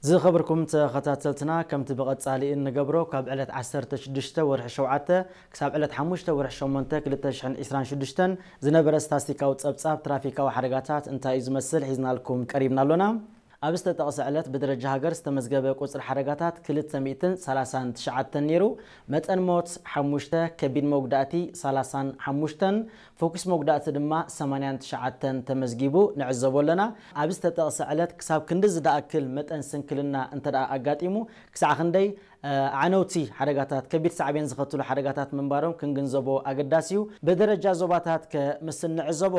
ዝኸበርኩም ተኸታተልትና፣ ከምቲ ብቐጻሊ እንገብሮ፣ ካብ ዕለት ዓሰርተ ሽዱሽተ ወርሒ ሸውዓተ ክሳብ ዕለት ሓሙሽተ ወርሒ ሸሞንተ ክልተ ሽሕን ዕስራን ሽዱሽተን ዝነበረ ስታስቲካዊ ጸብጻብ ትራፊካዊ ሓደጋታት እንታይ እዩ ዝመስል ሒዝናልኩም ቀሪብና ኣሎና። ኣብ ዝተጠቕሰ ዕለት ብደረጃ ሃገር ዝተመዝገበ ቁጽሪ ሓደጋታት ክልተ ሚእትን ሰላሳን ትሽዓተን ነይሩ። መጠን ሞት ሓሙሽተ፣ ከቢድ መጉዳእቲ ሰላሳን ሓሙሽተን፣ ፎኩስ መጉዳእቲ ድማ ሰማንያን ትሽዓተን ተመዝጊቡ ንዕዘቦ ኣለና። ኣብ ዝተጠቕሰ ዕለት ክሳብ ክንዲ ዝደኣክል መጠን ስንክልና እንተ ደኣ ኣጋጢሙ፣ ክሳዕ ክንደይ ኣዕነውቲ ሓደጋታት፣ ከቢድ ሳዕቤን ዝኸትሉ ሓደጋታት ምንባሮም ክንግንዘቦ ኣገዳሲ እዩ። ብደረጃ ዞባታት ከምስ እንዕዘቦ፣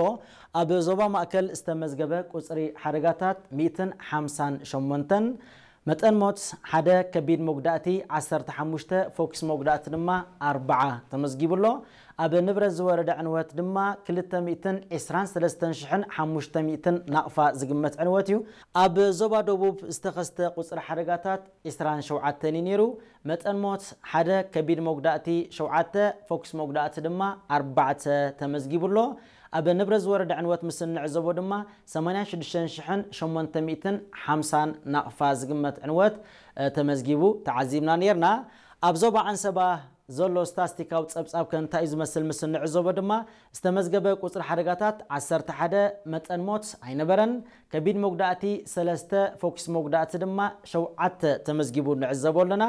ኣብ ዞባ ማእከል ዝተመዝገበ ቁጽሪ ሓደጋታት ሚእትን ሓምሳን ሸሞንተን፣ መጠን ሞት ሓደ፣ ከቢድ መጉዳእቲ ዓሰርተ ሓሙሽተ፣ ፎክስ መጉዳእቲ ድማ ኣርብዓ ተመዝጊቡ ኣሎ። ኣብ ንብረት ዝወረደ ዕንወት ድማ ክልተ ሚእትን ዕስራን ሰለስተን ሽሕን ሓሙሽተ ሚእትን ናቕፋ ዝግመት ዕንወት እዩ። ኣብ ዞባ ደቡብ ዝተኸስተ ቁጽሪ ሓደጋታት ዕስራን ሸውዓተን እዩ ነይሩ። መጠን ሞት ሓደ፣ ከቢድ መጉዳእቲ ሸውዓተ፣ ፎክስ መጉዳእቲ ድማ ኣርባዕተ ተመዝጊቡ ኣሎ። ኣብ ንብረት ዝወረደ ዕንወት ምስ እንዕዘቦ ድማ ሰማንያን ሽዱሽተን ሽሕን ሸሞንተ ሚእትን ሓምሳን ናቕፋ ዝግመት ዕንወት ተመዝጊቡ ተዓዚብና ነይርና። ኣብ ዞባ ዓንሰባ ዘሎ ስታስቲካዊ ጸብጻብ ከ እንታይ እዩ ዝመስል ምስ እንዕዘቦ ድማ ዝተመዝገበ ቁጽሪ ሓደጋታት ዓሰርተ ሓደ፣ መጠን ሞት ኣይነበረን። ከቢድ መጉዳእቲ ሰለስተ፣ ፎክስ መጉዳእቲ ድማ ሸውዓተ ተመዝጊቡ ንዕዘቦ ኣለና።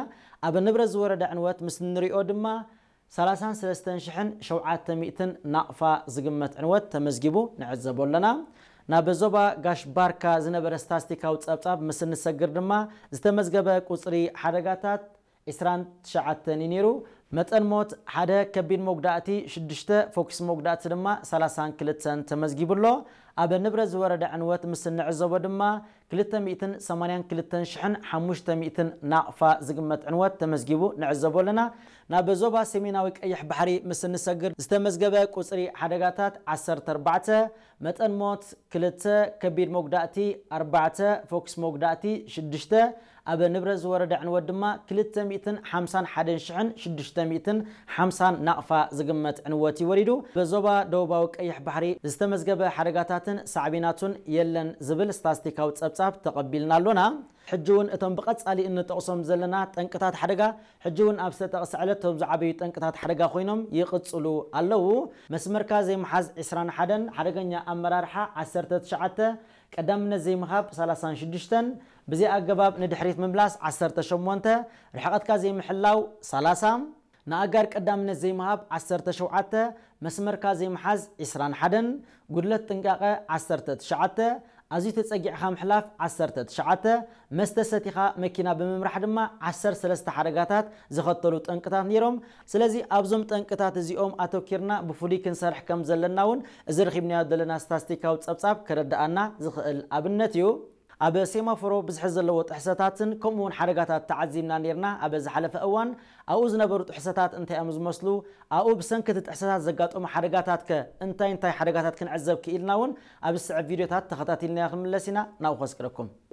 ኣብ ንብረት ዝወረደ ዕንወት ምስ እንሪኦ ድማ ሰላሳን ሰለስተን ሽሕን ሸውዓተ ሚእትን ናቕፋ ዝግመት ዕንወት ተመዝጊቡ ንዕዘቦ ኣለና። ናብ ዞባ ጋሽ ባርካ ዝነበረ ስታስቲካዊ ጸብጻብ ምስ እንሰግር ድማ ዝተመዝገበ ቁጽሪ ሓደጋታት ዕስራን ትሽዓተን እዩ ነይሩ። መጠን ሞት ሓደ፣ ከቢድ መጉዳእቲ ሽዱሽተ፣ ፎክስ መጉዳእቲ ድማ ሰላሳን ክልተን ተመዝጊቡ ኣሎ። ኣብ ንብረት ዝወረደ ዕንወት ምስ እንዕዘቦ ድማ ክልተ ሚእትን ሰማንያን ክልተን ሽሕን ሓሙሽተ ሚእትን ናቕፋ ዝግመት ዕንወት ተመዝጊቡ ንዕዘቦ ኣለና። ናብ ዞባ ሰሜናዊ ቀይሕ ባሕሪ ምስ እንሰግር ዝተመዝገበ ቁጽሪ ሓደጋታት ዓሰርተ ኣርባዕተ፣ መጠን ሞት ክልተ፣ ከቢድ መጉዳእቲ ኣርባዕተ፣ ፎክስ መጉዳእቲ ሽዱሽተ፣ ኣብ ንብረት ዝወረደ ዕንወት ድማ ክልተ ሚእትን ሓምሳን ሓደን ሽሕን ሽዱሽተ ሚእትን ሓምሳን ናቕፋ ዝግመት ዕንወት እዩ ወሪዱ። በዞባ ደቡባዊ ቀይሕ ባሕሪ ዝተመዝገበ ሓደጋታትን ሳዕቤናቱን የለን ዝብል ስታስቲካዊ ጸብጻብ ተቐቢልና ኣሎና። ሕጂ እውን እቶም ብቐጻሊ እንጠቕሶም ዘለና ጠንቅታት ሓደጋ ሕጂ እውን ኣብ ዝተጠቕሰ ዕለት እቶም ዝዓበዩ ጠንቅታት ሓደጋ ኮይኖም ይቕጽሉ ኣለዉ። መስመርካ ዘይምሓዝ ዕስራን ሓደን፣ ሓደገኛ ኣመራርሓ ዓሰርተ ትሽዓተ፣ ቀዳምነት ዘይምሃብ ሰላሳን ሽዱሽተን፣ ብዘይ ኣገባብ ንድሕሪት ምምላስ ዓሰርተ ሸሞንተ፣ ርሕቐትካ ዘይምሕላው ሰላሳ፣ ንኣጋር ቀዳምነት ዘይምሃብ ዓሰርተ ሸውዓተ፣ መስመርካ ዘይምሓዝ ዕስራን ሓደን፣ ጉድለት ጥንቃቐ ዓሰርተ ትሽዓተ፣ ኣዝዩ ተጸጊዕካ ምሕላፍ ዓሰርተ ትሽዓተ፣ መስተ ሰቲኻ መኪና ብምምራሕ ድማ ዓሰርተ ሰለስተ ሓደጋታት ዝኸተሉ ጠንቅታት ነይሮም። ስለዚ ኣብዞም ጠንቅታት እዚኦም ኣተኪርና ብፍሉይ ክንሰርሕ ከም ዘለና እውን እዚ ረኺብናዮ ዘለና ስታስቲካዊ ጸብጻብ ከረድኣና ዝኽእል ኣብነት እዩ። ኣብ ሴማፎሮ ብዝሒ ዘለዎ ጥሕሰታትን ከምኡ እውን ሓደጋታት ተዓዚብና ነይርና። ኣብ ዝሓለፈ እዋን ኣብኡ ዝነበሩ ጥሕሰታት እንታይ እዮም ዝመስሉ? ኣብኡ ብሰንኪ እቲ ጥሕሰታት ዘጋጠሙ ሓደጋታት ከ እንታይ እንታይ ሓደጋታት ክንዕዘብ ክኢልና እውን ኣብ ዝስዕብ ቪድዮታት ተኸታቲልናዮ ክንምለስ ኢና። ናብኡ ከስቅረኩም።